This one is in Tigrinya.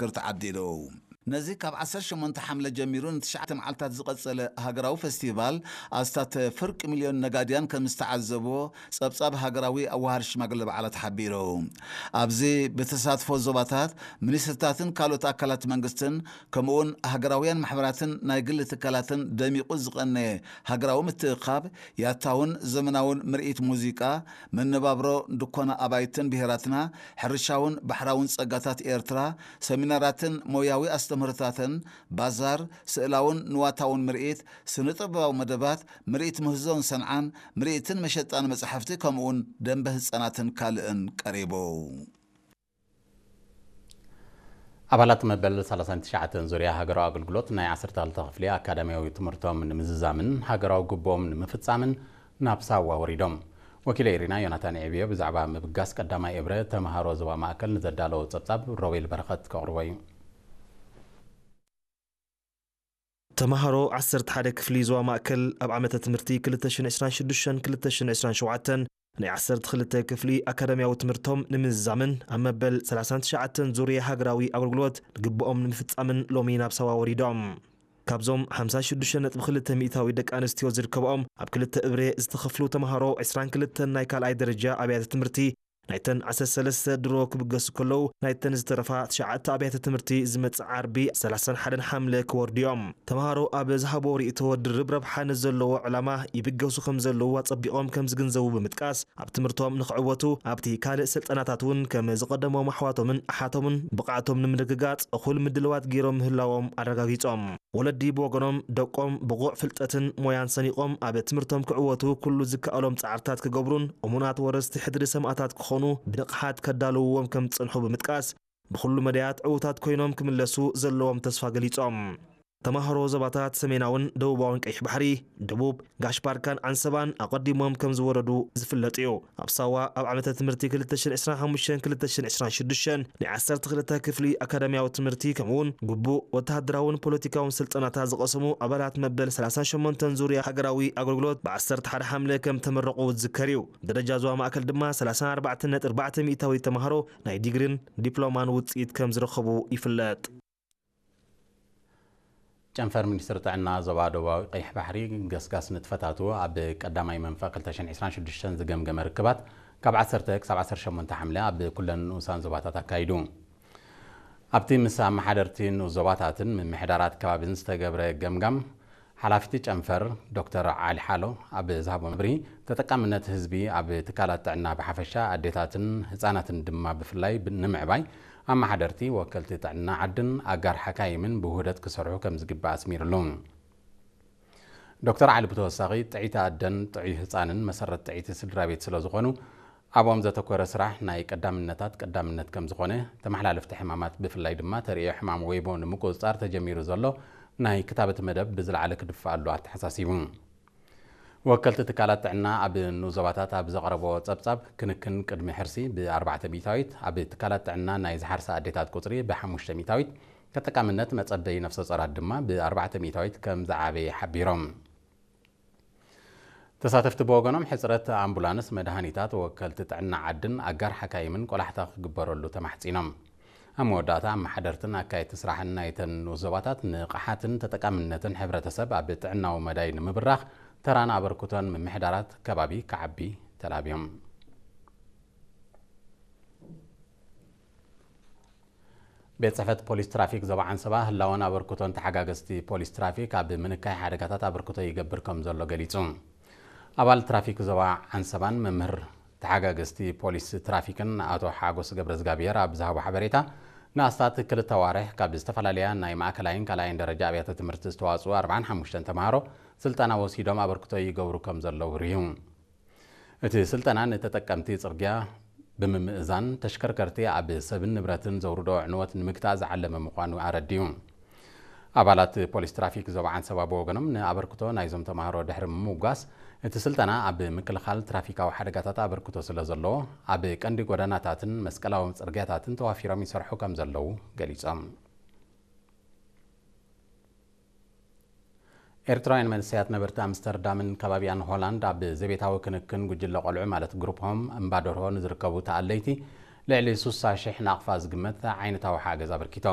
ክር ተዓዲሉ። ነዚ ካብ ዓሰርተ ሸሞንተ ሓምለ ጀሚሩ ንትሽዓተ መዓልታት ዝቐጸለ ሃገራዊ ፈስቲቫል ኣስታት ፍርቂ ሚልዮን ነጋድያን ከም ዝተዓዘብዎ ጸብጻብ ሃገራዊ ኣዋሃድ ሽማግለ በዓላት ሓቢሩ። ኣብዚ ብተሳትፎ ዞባታት፣ ሚኒስትርታትን ካልኦት ኣካላት መንግስትን ከምኡውን ሃገራውያን ማሕበራትን ናይ ግሊ ትካላትን ደሚቑ ዝቐነየ ሃገራዊ ምትእኻብ ያታውን ዘመናውን ምርኢት ሙዚቃ፣ መነባብሮ ድኮና ኣባይትን ብሄራትና፣ ሕርሻውን ባሕራውን ጸጋታት ኤርትራ፣ ሰሚናራትን ሞያዊ ኣስተምህሮታትን፣ ባዛር፣ ስእላውን ንዋታውን ምርኢት፣ ስነ-ጥበባዊ መደባት፣ ምርኢት ምህዞን ሰንዓን፣ ምርኢትን መሸጣን መጻሕፍቲ፣ ከምኡውን ደንበ ህጻናትን ካልእን ቀሪቡ። ኣባላት መበል ሰላሳን ትሽዓተን ዙርያ ሃገራዊ ኣገልግሎት ናይ ዓሰርተ ክልተ ክፍሊ ኣካዳሚያዊ ትምህርቶም ንምዝዛምን ሃገራዊ ግቡኦም ንምፍጻምን ናብ ሳዋ ወሪዶም። ወኪለ ኤሪና ዮናታን ኤዕብዮ ብዛዕባ ምብጋስ ቀዳማይ እብረ ተምሃሮ ዞባ ማእከል ንዘዳለዎ ጸብጻብ ሮቤል በረኸት ከቕርቦ እዩ። ተምሃሮ ዓሰርተ ሓደ ክፍሊ ዞባ ማእከል ኣብ ዓመተ ትምህርቲ ክልተ ሽሕን ዕስራን ሽዱሽተን ክልተ ሽሕን ዕስራን ሸውዓተን ናይ ዓሰርተ ክልተ ክፍሊ ኣካዳሚያዊ ትምህርቶም ንምዝዛምን ኣብ መበል ሰላሳን ትሽዓተን ዙርያ ሃገራዊ ኣገልግሎት ግቡኦም ንምፍጻምን ሎሚ ናብ ሳዋ ወሪዶም። ካብዞም ሓምሳ ሽዱሽተ ነጥቢ ክልተ ሚእታዊ ደቂ ኣንስትዮ ዝርከብኦም ኣብ ክልተ እብረ ዝተኸፍሉ ተምሃሮ ዕስራን ክልተን ናይ ካልኣይ ደረጃ ኣብያተ ትምህርቲ ናይተን ዓሰርተ ሰለስተ ድሮ ክብገሱ ከለዉ ናይተን ዝተረፋ ትሽዓተ ኣብያተ ትምህርቲ ዝመጽእ ዓርቢ ሰላሳን ሓደን ሓምለ ክወርዱ እዮም። ተምሃሮ ኣብ ዝሃቦ ርእይቶ ድርብ ረብሓ ንዘለዎ ዕላማ ይብገሱ ከም ዘለዉ ኣጸቢቖም ከም ዝግንዘቡ ብምጥቃስ ኣብ ትምህርቶም ንኽዕወቱ ኣብቲ ካልእ ስልጠናታት እውን ከም ዝቐደሞም ኣሕዋቶምን ኣሓቶምን ብቕዓቶም ንምርግጋጽ እኹል ምድልዋት ገይሮም ምህላዎም ኣረጋጊጾም። ወለዲ ብወገኖም ደቆም ብቑዕ ፍልጠትን ሞያን ሰኒቖም ኣብ ትምህርቶም ክዕወቱ ኩሉ ዝከኣሎም ጻዕርታት ክገብሩን እሙናት ወረስቲ ሕድሪ ሰማእታት ክኾኑ ብንቕሓት ከዳልውዎም ከም ዝጸንሑ ብምጥቃስ ብኹሉ መዳያት ዕዉታት ኮይኖም ክምለሱ ዘለዎም ተስፋ ገሊጾም። ተማሃሮ ዞባታት ሰሜናውን ደቡባውን ቀይሕ ባሕሪ፣ ደቡብ፣ ጋሽ ባርካን ዓንሰባን ኣቐዲሞም ከም ዝወረዱ ዝፍለጥ እዩ። ኣብ ሳዋ ኣብ ዓመተ ትምህርቲ ክልተ ሽሕን ዕስራን ሓሙሽተን ክልተ ሽሕን ዕስራን ሽዱሽተን ናይ ዓሰርተ ክልተ ክፍሊ ኣካዳሚያዊ ትምህርቲ ከምኡውን ግቡእ ወተሃደራውን ፖለቲካውን ስልጠናታት ዝቐሰሙ ኣባላት መበል ሰላሳን ሸሞንተን ዙርያ ሃገራዊ ኣገልግሎት ብዓሰርተ ሓደ ሓምለ ከም ተመረቑ ዝዝከር እዩ። ደረጃ ዞባ ማእከል ድማ ሰላሳን ኣርባዕተን ነጥቢ ኣርባዕተ ሚእታዊት ተምሃሮ ናይ ዲግሪን ዲፕሎማን ውጽኢት ከም ዝረኸቡ ይፍለጥ። ጨንፈር ሚኒስትሪ ጥዕና ዞባ ደቡባዊ ቀይሕ ባሕሪ ገስጋስ ንጥፈታቱ ኣብ ቀዳማይ መንፈቕ ክልተ ሽሕን ዕስራን ሽዱሽተን ዝገምገመ ርክባት ካብ ዓሰርተ ክሳብ ዓሰርተ ሸሞንተ ሓምለ ኣብ ኩለን ንኡሳን ዞባታት ኣካይዱ። ኣብቲ ምስ ኣመሓደርቲ ንኡስ ዞባታትን ምምሕዳራት ከባቢን ዝተገብረ ገምጋም፣ ሓላፊቲ ጨንፈር ዶክተር ዓሊ ሓሎ ኣብ ዝሃቦ መብርሂ፣ ተጠቃምነት ህዝቢ ኣብ ትካላት ጥዕና ብሓፈሻ ኣዴታትን ህጻናትን ድማ ብፍላይ ብ-፣ ንምዕባይ ኣመሓደርቲ፣ ወከልቲ ጥዕና ዓድን ኣጋር ሓካይምን ብውህደት ክሰርሑ ከም ዝግባእ ኣስሚርሉ። ዶክተር ዓሊ ብተወሳኺ፣ ጥዕይቲ ኣደን ጥዑይ ህጻንን መሰረት ጥዕይቲ ስድራ ቤት ስለ ዝኾኑ፣ ኣብኦም ዘተኮረ ስራሕ ናይ ቀዳምነታት ቀዳምነት ከም ዝኾነ፣ ተመሓላለፍቲ ሕማማት ብፍላይ ድማ ተርእዮ ሕማም ወይቦ ንምቁጽጻር ተጀሚሩ ዘሎ ናይ ክታበት መደብ ብዝለዓለ ክድፈኣሉ ኣተሓሳሲቡ። ወከልቲ ትካላት ጥዕና ኣብ ንኡስ ዞባታት ኣብ ዘቕረቦ ጸብጻብ፣ ክንክን ቅድሚ ሕርሲ ብኣርባዕተ ሚእታዊት፣ ኣብ ትካላት ጥዕና ናይ ዝሓርሳ ኣዴታት ቁጽሪ ብሓሙሽተ ሚእታዊት፣ ተጠቃምነት መጸበዪ ነፍሰ ጾራት ድማ ብኣርባዕተ ሚእታዊት ከም ዝዓበየ ሓቢሮም። ተሳተፍቲ ብወገኖም፣ ሕጽረት ኣምቡላንስ፣ መድሃኒታት፣ ወከልቲ ጥዕና ዓድን ኣጋር ሓካይምን ቆላሕታ ክግበረሉ ተማሕጺኖም። ኣብ መወዳእታ፣ ኣመሓደርትን ኣካየድቲ ስራሕን ናይተን ንኡስ ዞባታት ንቕሓትን ተጠቃምነትን ሕብረተሰብ ኣብ ጥዕናዊ መዳይ ንምብራኽ ተራን ኣበርክቶን ምምሕዳራት ከባቢ ክዓቢ ተላብዮም። ቤት ጽሕፈት ፖሊስ ትራፊክ ዞባ ዓንሰባ ህላወን ኣበርክቶን ተሓጋገዝቲ ፖሊስ ትራፊክ ኣብ ምንካይ ሓደጋታት ኣበርክቶ ይገብር ከም ዘሎ ገሊጹ። ኣባል ትራፊክ ዞባ ዓንሰባን መምህር ተሓጋገዝቲ ፖሊስ ትራፊክን ኣቶ ሓጎስ ገብረዝጋብሔር ኣብ ዝሃቦ ሓበሬታ፣ ንኣስታት ክልተ ኣዋርሕ ካብ ዝተፈላለያ ናይ ማእከላይን ካልኣይን ደረጃ ኣብያተ ትምህርቲ ዝተዋጽኡ ኣርባዓን ሓሙሽተን ተምሃሮ ስልጠና ወሲዶም ኣበርክቶ ይገብሩ ከም ዘለዉ ርህዩ። እቲ ስልጠና ንተጠቀምቲ ጽርግያ ብምምእዛን፣ ተሽከርከርቲ ኣብ ሰብን ንብረትን ዘውርዶ ዕንወት ንምግታእ ዝዓለመ ምዃኑ ኣረዲኡ። ኣባላት ፖሊስ ትራፊክ ዞባ ዓንሰባ ብወገኖም፣ ንኣበርክቶ ናይዞም ተምሃሮ ድሕሪ ምምጓስ፣ እቲ ስልጠና ኣብ ምክልኻል ትራፊካዊ ሓደጋታት ኣበርክቶ ስለ ዘለዎ፣ ኣብ ቀንዲ ጎደናታትን መስቀላዊ ጽርግያታትን ተዋፊሮም ይሰርሑ ከም ዘለዉ ገሊጾም። ኤርትራውያን መንእሰያት ነበርቲ ኣምስተርዳምን ከባቢኣን ሆላንድ፣ ኣብ ዘቤታዊ ክንክን ጉጅለ ቆልዑ ማለት ግሩፕ ሆም እምባ ደርሆ ንዝርከቡ ተኣለይቲ ልዕሊ ስሳ ሽሕ ናቕፋ ዝግመት ዓይነታዊ ሓገዝ ኣበርኪቶም።